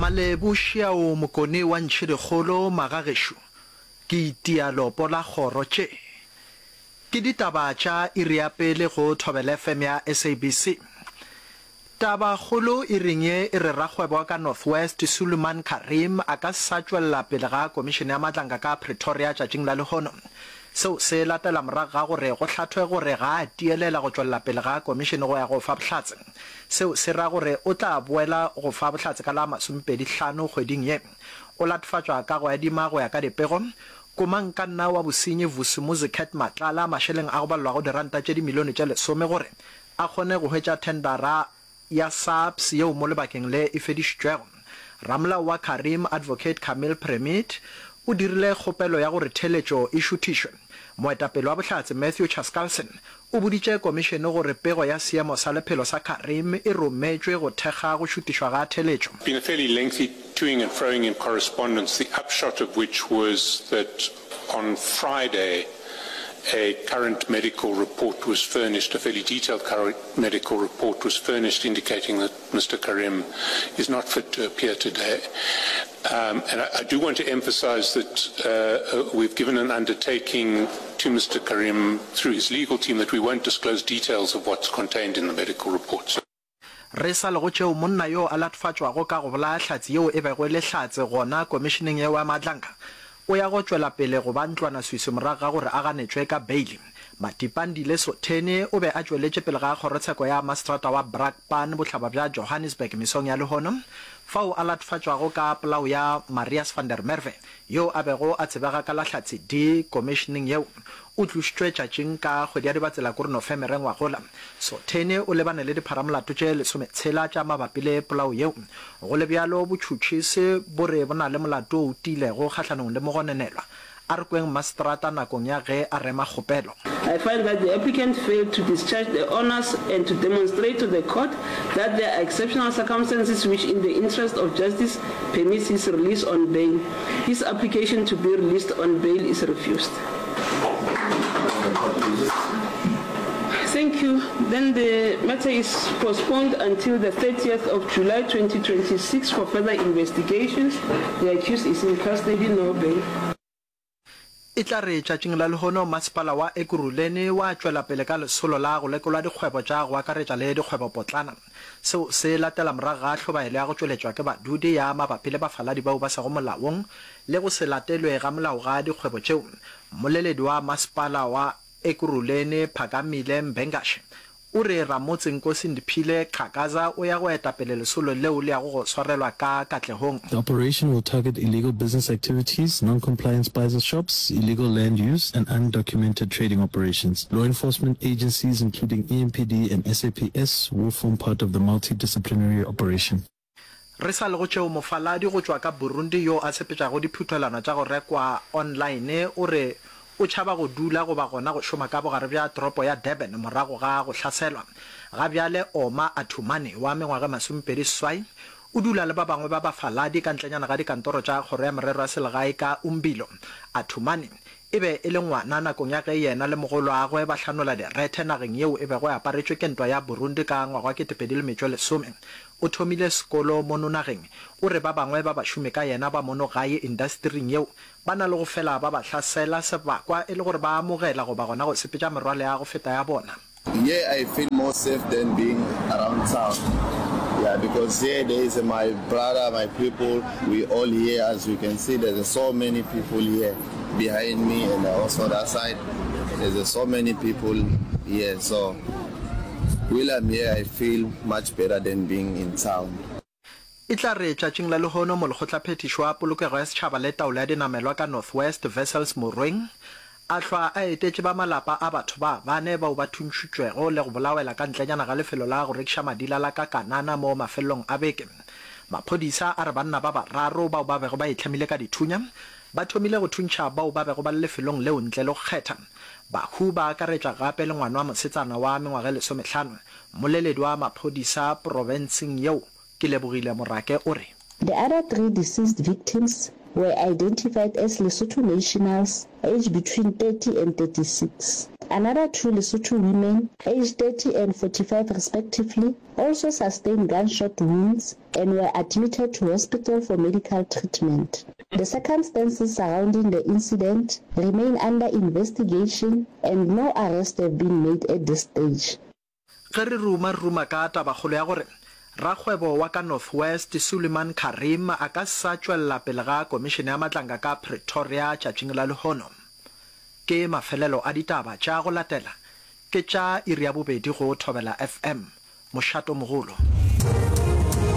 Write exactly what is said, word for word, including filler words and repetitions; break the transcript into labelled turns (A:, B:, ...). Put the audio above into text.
A: Malebu šiao Mokone wa Ntšhidikgolo magagešo ke itia leopo la kgoro tše ke ditaba tša iri ya pele go Thobela F M ya S A B C. Tabakgolo iring ye e re rakgwebo wa ka North West Suleiman Carrim a ka se sa tšwelela pele ga Komišene ya Matlanka ka Pretoria tšatšing la lehono. Seo se latela morago ga gore go hlathwe gore ga a tielela go tšwelela pele ga komišene go ya go fa bohlatse. Seo se ra gore o tla boela go fa bohlatse ka la masomepedi hlano kgweding ye. O latofatšwa ka go adima go ya ka dipego komangkanna wa bosenyi Vusimuzi Cat Matlala mašeleng a go balelwago diranta tše dimilione tše lesome gore a kgone go hwetša thendara ya SAPS yeo mo lebakeng le e fedišitšwego. Ramolao wa Carrim, Advocate Kameel Premit, o dirile kgopelo ya gore theeletšo e šuthišwe. Moetapele wa bohlatse Matthew Chaskalson o boditše komišene gore pego ya seemo sa lephelo sa Carrim e rometšwe go thekga go šutišwa ga theeletšo.
B: Been a fairly lengthy toing and froing in correspondence, the upshot of which was that on Friday a current medical report was furnished, a fairly detailed current medical report was furnished indicating that Mister Carrim is not fit to appear today. Um, and I, I do want to emphasize that uh, uh, we've given an undertaking to Mister Carrim through his legal team that we won't disclose details of what's contained in the medical report. So
A: Re sa le go tšeo, monna yo a latofatšwago ka go bolaya hlatse yeo e bego e le hlatse gona komišeneng yeo ya Madlanka o ya go tšwela pele go ba ntlwanaswiswi morago ga gore a ganetšwe ka beili. Matipandile Sotheni o be a tšweletše pele ga kgorotsheko ya maseterata wa Brakpan bohlaba bja Johannesburg mesong ya lehono fao a latofatšwago ka polao ya Marius van der Merwe yo a bego a tsebega ka la Hlatse D komišeneng yeo. O tlošitšwe tšatšing ka kgwedi ya Dibatsela kore Nofemere ngwagola. Sotheni o lebane le dipharamolato tše lesometshela tša mabapi le polao yeo. Go le bjalo, botšhotšhisi bo re bo na le molato o tiilego kgahlanong le mogononelwa. A re kweng maseterata nakong ya ge a rema kgopelo.
C: I find that the applicant failed to discharge the onus and to demonstrate to the court that there are exceptional circumstances which in the interest of justice permits his release on bail. His application to be released on bail is refused. Thank you. Then the matter is postponed until the thirtieth of July twenty twenty-six for further investigations. The accused is in custody, no bail.
A: E tla re tšatšing la lehono masepala wa Ekurhuleni wa tšwela pele ka lesolo la go lekolwa dikgwebo tša go akaretša le dikgwebopotlana. Seo se latela morago ga hlobaelo ya go tšweletšwa ke badudi ya mabapi le bafaladi bao ba sego molaong le go se latelwe ga molao ga dikgwebo tšeo. Mmoleledi wa masepala wa Ekurhuleni Phakamile Mbengashe o re ramotse Nkosi Ndiphile Xhakaza o ya go eta pele lesolo leo le yago go swarelwa ka Katlehong.
D: The operation will target illegal business activities, non-compliant spaza shops, illegal land use, and undocumented trading operations. Law enforcement agencies, including E M P D and S A P S, will form part of the multidisciplinary operation.
A: Re sa le go tšeo, mofaladi go tšwa ka Burundi yo a sepetšago diphuthelwana tša go rekwa online o re o tšhaba go dula goba gona go šoma ka bogare bja toropo ya Durban morago ga go hlaselwa. Ga bjale Oma Athumane wa mengwaga e masomepedi seswai o dula le ba bangwe ba bafaladi ka ntlenyana ga dikantoro tša Kgoro ya Merero ya Selegae ka Umbilo. Athumane e be e le ngwana nakong ya ge yena le mogoloagwe ba hlanola direthe nageng yeo e bego e aparetšwe ke ntwa ya Burundi ka ngwaga wa ketepedi le metšo e lesome. O thomile sekolo mono nageng. O re ba bangwe ba bašomi ka yena ba mono gae indastering yeo ba na le go fela ba ba hlasela sebakwa e le gore ba amogela goba gona go sepetša merwalo ya go feta ya bona.
E: Here I feel more safe than being around town, yeah, because here there is my brother, my people, we all here. As you can see, there's so many people here behind me and also that side there's so many people here. So while I'm here, I feel much better than being in town.
A: E tla re tšatšing la lehono Molekgotlaphethiši wa Polokego ya Setšhaba le Taolo ya Dinamelwa ka North West, Wessels Morweng, a hlwa a etetše ba malapa a batho ba bane bao ba thuntšhitšwego le go bolawela ka ntlenyana ga lefelo la go rekiša madila la ka Kanana mo mafelelong a beke. Maphodisa a re banna ba bararo bao ba bego ba itlhamile ka dithunya ba thomile go thuntšha bao ba bego ba le lefelong leo ntle le go kgetha. Bahu ba akaretša gape le ngwana wa mosetsana wa mengwaga e lesomehlano. Mmoleledi wa maphodisa profenseng yeo, Kelebogile Morake o re.
F: The other three deceased victims were identified as Lesotho nationals aged between thirty and thirty-six. Another two Lesotho women, aged thirty and forty-five respectively, also sustained gunshot wounds and were admitted to hospital for medical treatment. The circumstances surrounding the incident remain under investigation and no arrests have been made at this stage.
A: Ge re ruma, re ruma ka tabakgolo ya gore rakgwebo wa ka North West, Suliman Carrim a ka sa tšwelela pele ga Komišene ya Matlanka ka Pretoria tšatšing la lehono. Ke mafelelo a ditaba tša go latela ke tša iri ya bobedi go Thobela F M, mošatomogolo.